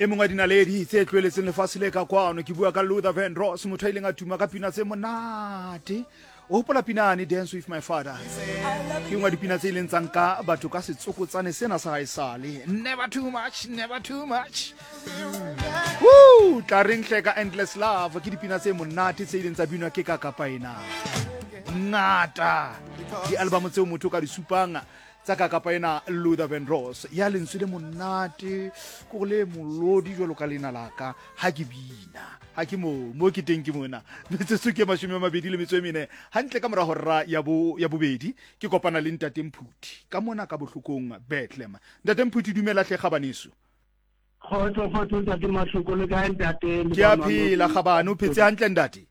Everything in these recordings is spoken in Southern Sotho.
E mongwe wa dinaledi tse tloeletseng lefatshe le ka kwano, ke bua ka Luther Vandross, motho a ileng a tuma ka pina tse monate. O hopola pinane Dance with My Father? Ke nngwe ya dipina tse ileng tsa nka batho ka setsokotsane sena sa haesale. Never too much, never too much. Woo! Tla reng hle ka Endless Love, ke dipina tse monate tse ileng tsa binwa ke ka kapa ena. Ngata di-album tseo motho o ka di supang tsa ka kapa ena Luther Vandross ya lentswe le monate ko go le molodi jwalo ka leina la ka ha ke bina ha ke mo mo ke teng ke mona. Metsotso ke 24 hantle ka mora hora ya bo ya bobedi ke kopana le ntate Mphuthi ka mona ka bohlokong Bethlehem. Ntate Mphuthi, dumela hle gabaneso. Kgotso, kgotso ntate Mahloko, le kae ntate? Ke a phela gabane, o phetse hantle ntate?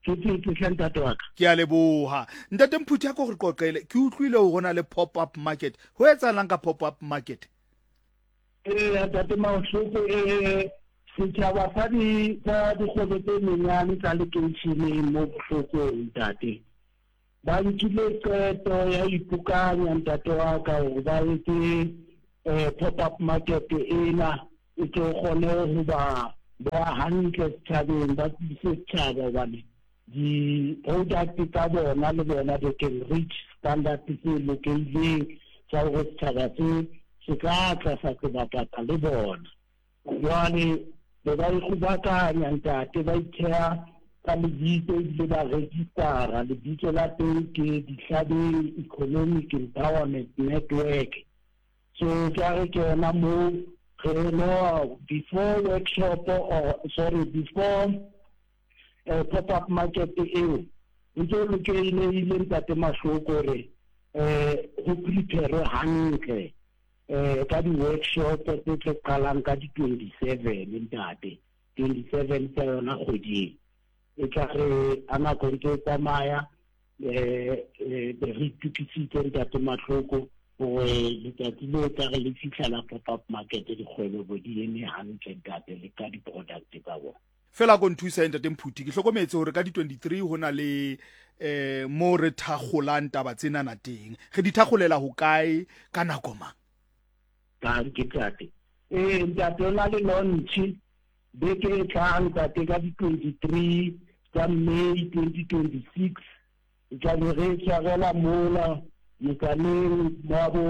Ke phetse hle ntate wa ka. Ke a leboha. Ntate Mphuthi, a ko re qoqele, ke utlwile hore ho na le pop up market. Ho etsahalang ka pop up market? Ee, ntate Mahloko, ee, setjhaba sa di sa dikgwebo tse nyenyane tsa lekeisheneng mo Bohlokong ntate, ba nkile qeto ya ipokanya ntate wa ka hore ba etse pop up market ena e tlo kgone ho ba beha hantle setjhabeng, ba tsebise setjhaba hobane di-product tsa bona le bona they can reach standard tse lokehileng tsa hore setjhaba se se ka tla sa se bapatsa le bona. Jwale be ba ikgobakanya ntate, ba itheha ka lebitso ebile ba registera. Lebitso la teng ke Dihlabeng Economic Empowerment Network. So ke a re ke yona moo re no before workshop or sorry before pop up market eo ntse o lokehile ntate Mahloko hore ho prepare hantle ka di-workshop tse tlo qalang ka di-27 ntate, 27 tsa yona kgweding e tla re a nako ntse e tsamaya be re itukisitse ntate Mahloko hore letsatsi le tla re le fihla la pop up market dikgwebo bo di eme hantle ntate le ka di-product tsa bona. Fela ko nthusa ntate Mphuthi, ke hlokometse hore ka di-23 ho na le mo re thakgolang taba tsenana teng. Re di thakgolela hokae ka nako mang? Ka ke ntate. Ee ntate, o na le launch beke e tlang ntate ka di-23 tsa May 2026. E tla be re tshwarela mola motsaneng wa bo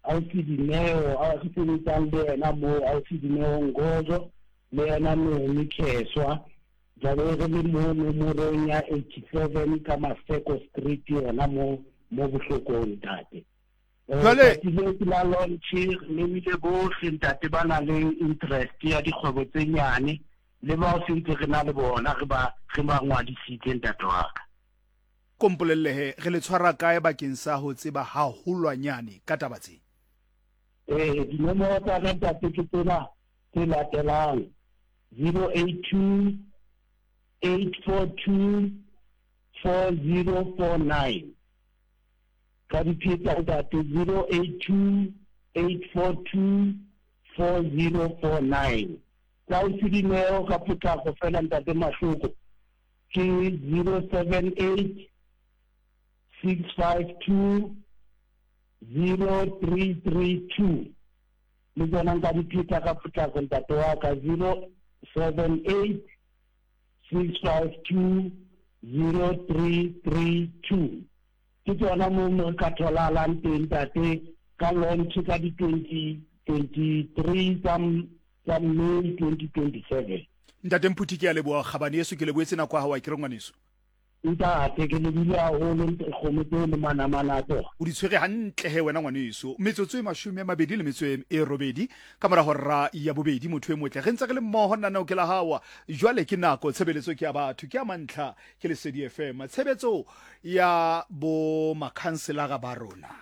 ausi Dineo, a re sebetsang le yena moo, ausi Dineo Ngozo le yena Nomi Kheswa. Tla be re le mo nomorong ya 87 ka Maseko Street yona mo mo Bohlokong ntate. Jwale Tsatsi leo ke la launch, re memile bohle ntate ba nang le interest ya dikgwebo tse nyane le bao sentse re na le bona re ba re ba ngwadisitse ntate wa ka. Ko mpolelle he, re le tshwara kae bakeng sa ho tseba haholwanyane ka taba tse? Ee, dinomoro tsa ka ntate ke tsena tse latelang, 082 842 4049. Ka di pheta ntate, 082 842 4049. Tsa ausi Dineo ka potlako fela ntate Mahloko ke 078 652 0332. Le tsona nka di pheta ka potlako ntate wa ka, 078 652 0332. Ke tsona mo mo re ka tholahalang teng ntate ka launch ka di 20 23 tsa tsa May 2027. Ntate Mphuthi, ke a leboha kgabane yeso, ke lebohetse nako ya hao, a ke re ngwaneso. Ntate, ke lebile haholo kgomo tseo le manamane a tsona. O di tshwere hantle he wena ngwaneso. Metsotso e 28 ka mora hora ya bobedi, motho e motle. Re ntse re le mmoho, nanao ke la hao. Jwale ke nako, tshebeletso ke ya batho, ke ya mantlha, ke Lesedi FM. Tshebetso ya bo makhanselara ba rona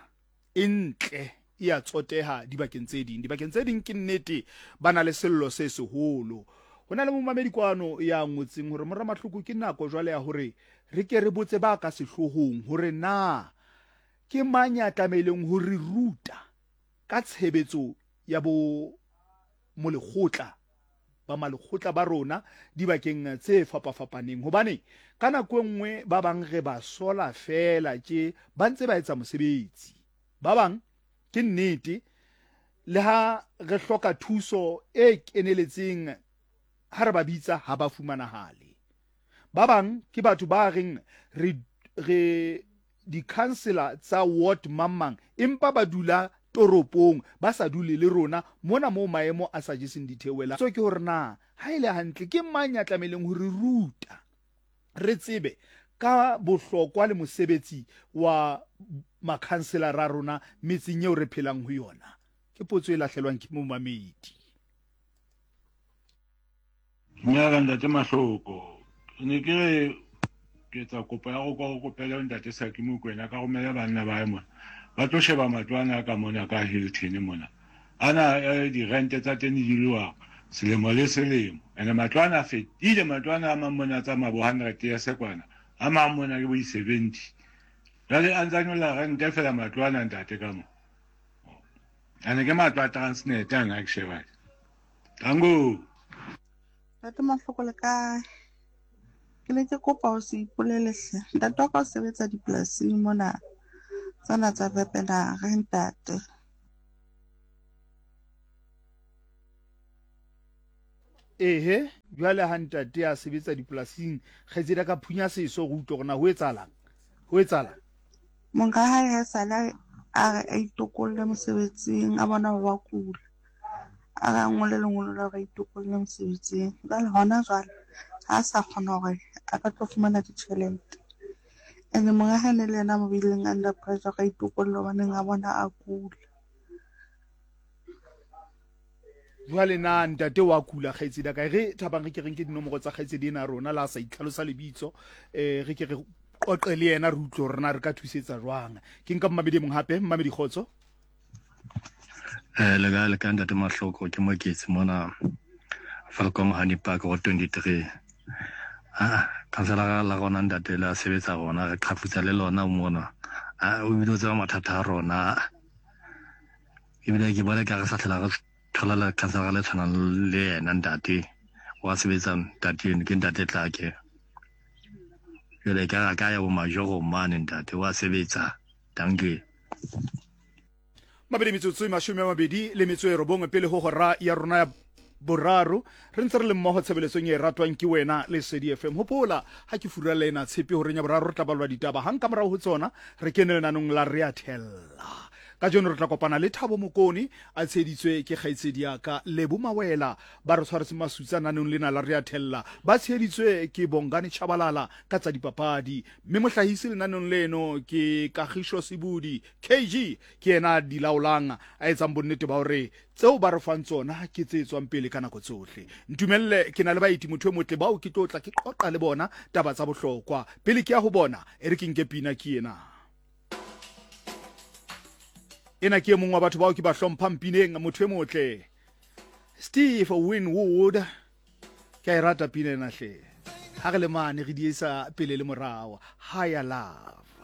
e ntle, e a tsoteha dibakeng tse ding. Dibakeng tse ding ke nnete ba na le sello se seholo. Ho na le momamedi kwano ya ngotseng hore mora Mahloko ke nako jwale ya hore re ke re botse ba ka sehloohong hore na ke mang ya tlamehileng ho re ruta ka tshebetso ya bo molekgotla ba malekgotla ba rona dibakeng tse fapafapaneng, hobane ka nako e nngwe ba bang re ba sola feela tje ba ntse ba etsa mosebetsi. Ba bang ke nnete Le ha re hloka thuso e keneletseng ha re ba bitsa ha ba fumanahale. Ba bang ke batho ba reng re re dikhansela tsa ward mang-mang empa ba dula toropong ba sa dule le rona mona moo maemo a sa jeseng ditheohelang. Potso ke hore na ha e le hantle ke mang ya tlamehileng ho re ruta re tsebe ka bohlokwa le mosebetsi wa makhanselara a rona metseng eo re phelang ho yona? Ke potso e lahlelwang ke momamedi. Dumela ntate Mahloko. Ke ne ke re ke etsa kopo ya go kwa go kopele ntate Saki Mokwena ka romele banna ba hae mona ba tlo sheba matlo ana ka mona ka Hilton mona ana eh, dirente tsa teng di diloa selemo le selemo ene matlo ana a fetile matlo ana a mang mona a tsamaya bo 100 years kwana a mang mona ke bo di-70 jale a ntsa nyolla rente fela matlo ana ntate ka mo ane ke matlo a transnet ana ke sheba tango Ntate Mahloko le kae? Ke ne ke kopa ho se ipolele hle. Ntate wa ka o sebetsa dipolasing mona tsena tsa Wepener ntate. Ehe, jwale ha ntate a sebetsa dipolasing, kgaitsedi a ka phunya seso go utlwa gore na ho etsahalang. Ho etsahalang? Monga hae ha esale a re a itokolle mosebetsing, a bona hore wa kula. A re a ngole lengolo la hore a itokolle mosebetsing. Jwale hona jwale ha a sa kgona hore a ka tlo fumana ditjhelete. And monga hae ne le yena a mo beileng under pressure hore a itokolle hobaneng a bona a kula. Jwale na ntate wa kula kgaitsedi ka re thabang re ke re nke dinomoro tsa kgaitsedi ena rona la sa itlhalosa lebitso eh re ke re qoqe le yena re utlwe hore na re ka thusetsa jwang. Ke nka mmamedi e mong hape mmamedi kgotso. Eh le ka le ka ntate Mahloko ke Moketsi mona Falcon Honey Park go 23. Ah kansela la rona ntate la sebetsa rona re qhafutsa le lona mona. Ah o bile o tseba mathata a rona. Ebile ke bona ka re sa tlhola re thola le khansara le tshwanang le yena ntate wa sebetsa ntate eno ke ntate Tlake. Jwale ka ra ka ya bo majorong mane ntate wa sebetsa. Dankie. Mabedi metsotso e 29 pele ho hora ya rona ya boraro re ntse re le mmoho tshebeletsong e ratwang ke wena Lesedi FM. Hopola ha ke furalla ena tshepe horeng ya boraro re tla balwa ditaba hang ka morao ho tsona re kene lenanong la re a thella. Kajeno re tla kopana le Thabo Mokone a tsheheditswe ke kgaitsedi ya ka Lebo Mawela ba re tshwaretse masutsa nanong lena la re a thella ba tsheheditswe ke Bongani Chabalala ka tsa dipapadi mme mohlahisi lenanong leno ke Kagisho Sebudi KG ke yena a di laolang a etsang bonnete ba hore tseo ba re fang tsona ke tse tswang pele ka nako tsohle. Ntumelle ke na le baeti motho e motle bao ke tlo tla ke qoqa le bona taba tsa bohlokwa. Pele ke ya ho bona e re ke nke pina ke ena. Ena ke e mong wa batho bao ke ba hlomphang pineng motho e motle. Steve Winwood ke a e rata pina ena hle. Ha re le mane re di isa pele le morao. Higher Love.